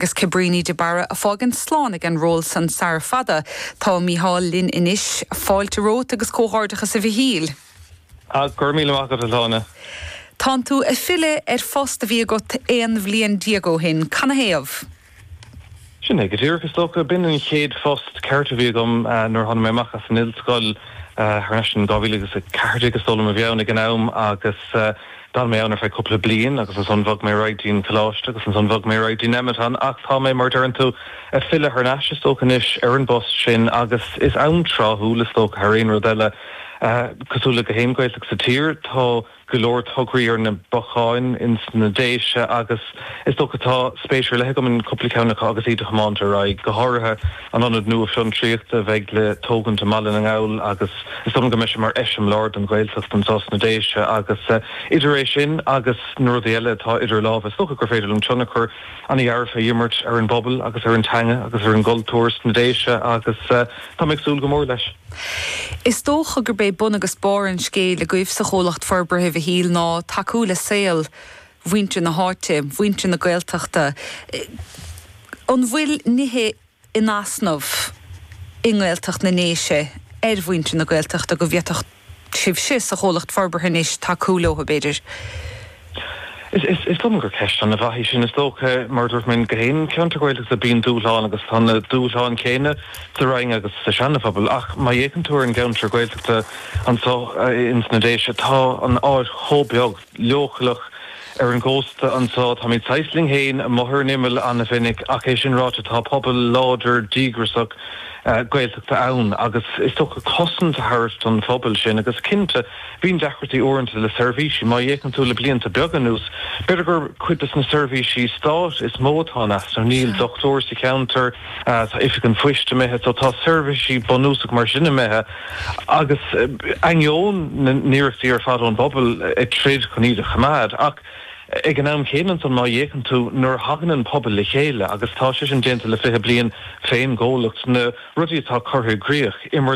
Agus Cabríní de Barra a fágaint slán ag an ról san sara fada. Tá Mícheál linn anois. Fáilte romhat agus comhghairdeachas a Mhichíl. Ah, go raibh míle maith agat, a Shláine. Tánn tú ag filleadh ar phost a bhí agat 11 bhliain ó shin. Canathaobh? Sin é go díreach, is dócha. B'in an chéad phost ceart a bhí agam nuair a tháinig mé amach as an ollscoil thar n-ais in 2014 is dóigh liom a bhí ann ag an am agus D'fhan mé ann ar feadh cúpla bliain agus ansan bhog mé ar aghaidh dtí'n coláiste agus ansan bhog mé ar aghaidh dtí Nemeton ach tá mé, mar a deireann tú, ag filleadh thar n-ais is dócha anois ar an bpost sin agus is am tráthúil is dócha thar aon rud eile. Cosúil le gach aon Ghaeltacht sa tír tá go leor tograí ar na bacáin ins na Déise agus is dócha tá spéis ar leith agam in cúpla ceann acu agus iad a thiomáint ar aghaidh, go háirithe an ionad nua fiontraíochta a bheidh le tógaint i mBaile na nGall agus Is dóigh liom go mbeidh sé mar eiseamláir don Ghaeltacht anseo sna Déise agus idir é sin agus na rudaí eile atá idir lámha, is dócha gur féidir liom tionchar an-dhearfa a imirt ar an bpobal agus ar an teanga agus ar an gcultúr sna Déise agus tá mé ag súil go mór leis. Is dócha gurb é bun agus barr an scéil agaibh sa Chomhlacht Forbartha, a Mhichíl, ná tacú le saol mhuintir na háite, mhuintir na Gaeltachta. An bhfuil nithe in easnamh i nGaeltacht na nDéise ar mhuintir na Gaeltachta go bhféadfadh sibhse sa Chomhlacht Forbartha anois tacú leo, b'fhéidir? Is dóigh liom gur ceist an-mhaith í sin. Is dócha, mar a dúirt mé, gach aon cheantar Gaeltachta bíonn dúshláin agus tá na dúshláin chéanna sa Rinn agus sa Seana-Phobal ach má fhéachann tú ar an gceantar Gaeltachta anseo ins na Déise tá an áit chomh beag. leochaileach ar an gcósta anseo. Táimid saghas linn féin amuigh ar an imeall an-mhinic ach é sin ráite tá pobal láidir díograiseach Gaeltachta ann agus is dócha cosaint a thabhairt don phobal sin agus cinnte bíonn deacrachtaí uaireanta le seirbhísí. Má fhéachann tú le blianta beaga anuas b'fhéidir gur cuid de na seirbhísí stáit is mó atá in easnamh. Níl dochtúir sa cheantar, tá oifig an phoist imithe so tá seirbhísí bunúsach mar sin imithe. Agus ainneoin na n-iarrachtaí ar fad ón bpobal ag troid chun iad a choimeád, ach ag an am céanna ansan má fhéachann tú nuair a thagann an pobal le chéile, agus tá sé sin déanta le 20 bliain fén gcomhlacht, na rudaí atá curtha i gcrích,